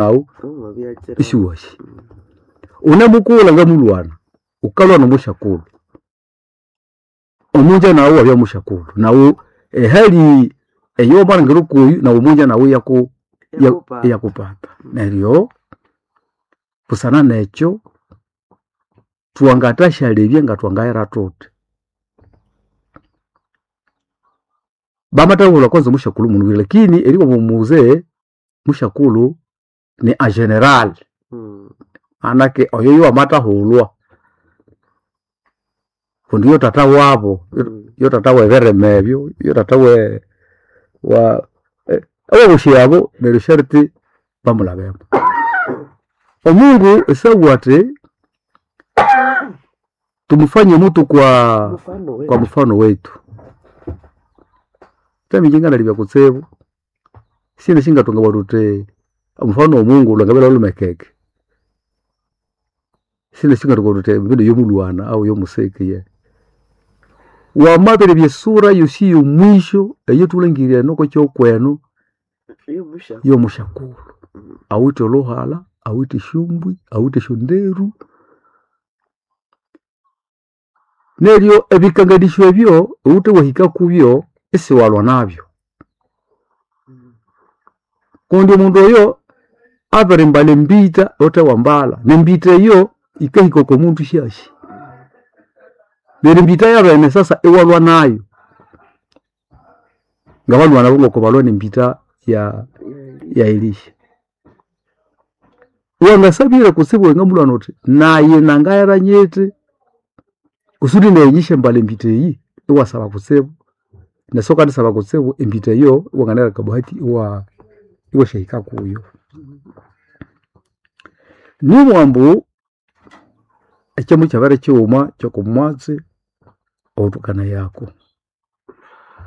Nawu isiwashi unemukulha ngamulwana ukalwa nomusyakulhu omunja nawu wabya musyakulhu nawu ehali eyowamalhangira okuyu nawu omunja nawu iyaku iyakupata neryo busana nekyo thwangathasyalebya ngathwangaghera thuthi. Bamathabulha kwanza omusyakulhu munubwire lakini eribugha ambu muzee musyakulhu ni en general manake oyo yowamathathulwa kundi yo thatha wabu yo thatha webirima ebyo yo thatha we wa abosi abo neryo sharti bamulhabemo. Omungu isabugha athi tumufanye mutu kwa mfano wetu. Thami ngalibya kutsibu sina singathunga thuthi omufano womungu lhwangabya lhwalhumekeke. Sina singathunga thuthi mbino yomulhwana au yomusiki yehe. Wamabiribya esura yosi eyomwisho eyathulhangire eno okwakyihugho kwenu yomusyakulhu. Awithe olhuhalha, awithe esyombwi, awithe esyonderu. Neryo ebikanganisyo ebyo iwuthe wahika kubyo isiwalwa nabyo. Kundi omundu oyo abirimbalha embita ghuthe wambalha nembita eyo yikahika okwamundu isyasi. Neryo embita yabene sasa iwalwa nayo. Ngabalhwana abo ngokubalwa nembita ya Elisha. Wangasabire kutsibu wangamulhwana wuthi nayi nangaghera nyithi kusudi nayi nyisyambalha embita eyi iwasaba kutsibu nesi wukandisaba kutsibu embita eyo iwanganahera akabahati iwasyahika kuyo. Nibugha ambu ekyo mukyabere kyighuma kyokumwatsi owathukanayako.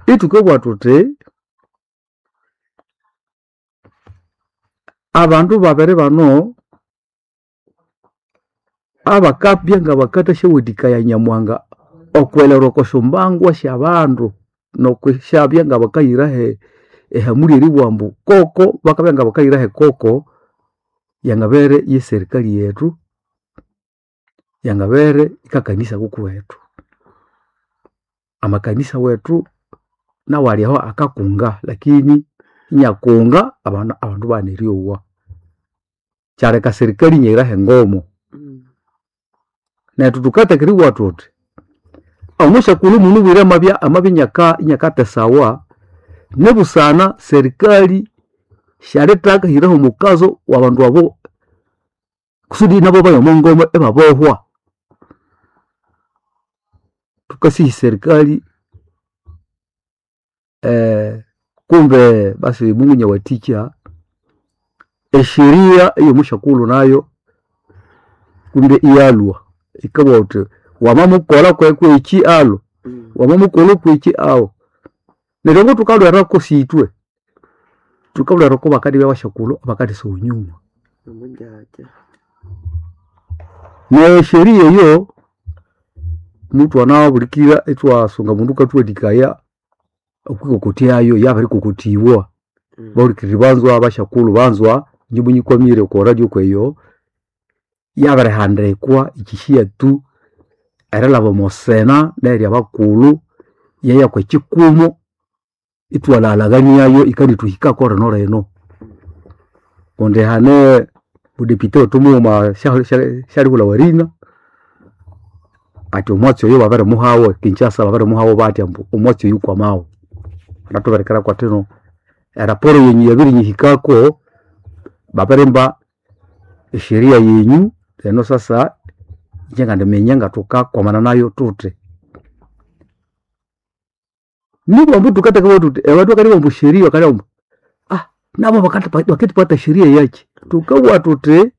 Ithukabugha thuthi abandu babiri bano abakabya ngabakathasyawathikaya Nyamuhanga okwilhera okwa syambangu syabandu nokwisyabya ngabakayirahe ehamuli eribugha ambu koko bakabya ngabakayirahe koko yangabere ye serikali yethu yangabere ikakanisa kukuwethu. Amakanisa wethu nawu alyaho akakunga lakini inyakunga abandu ibaghana eryowa. Kyaleka serikali inyaghiraho engomo. Nethu thukatheka eribugha thuthi omusyakulhu munubwire amabya amabya inyakatesawa nibusana serikali syalithaka hiraho omukazo wabandu abo kusudi nabo baye omwangoma ibabohwa. Thukasiha eserikali kumbe basi Mungu inyawathikya esheria eyomusyakulhu nayo kumbe iyalwa yikabugha wuthi wamamukolha kwekyi alwa, wamamukolha okwekyi awa. Neryo ngothukalhwirako sithwe, thukalhwira okubakandibya basyakulhu abakandisagha enyuma. Nesheria eyo muthwanabulikira ithwasunga omundu yukathuwathikaya okwikokothyayo yabirikokothibwa. Bahulikiriri banzwa basyakulhu banzwa inje munyikwamire okwa radio kweyo yabirihandikwa ikyisiya tu erilhaba omosena nerya abakulhu yeya kwekikumu ithwalaghalhaghaniayo yikandithuhikako linolino. Kundi hane mudepite wethu mughuma syalibulhawa erina athi omwatsi oyo babirimuhawo Kinshasa babirimuhawo bathya ambu omwatsi oyu kwamawo. Anathubirikira kwathino eraporo yenyu yabirinyihikako babirimba esheria yenyu lino sasa inje ngandiminya ngathukakwamana nayo thuthi. Nibugha ambu thukatheka thuthi abandu bakalibugha ambu sheria bakalibugha ambu nabo bakendipatha sheria yakyi. Thukabugha thuthi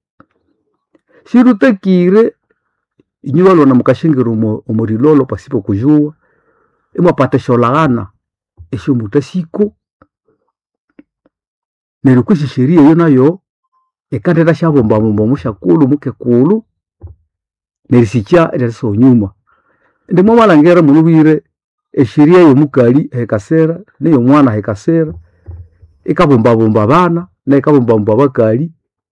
sithutakire inywe balhwana mukasyingira omo rilolo pasipo kujua imwapata esyolhaghana esyomuthasiko neryo kwisi esheria eyo nayo yikandithasyabumbabumba omusyakulhu mukekulhu nerisikya eryerisiha enyuma. Indi mwamalhangira munubwire esheria eyomukali ahikasira neyomwana ahikasira yikabumbabumba abana neyikabumbabumba abakali.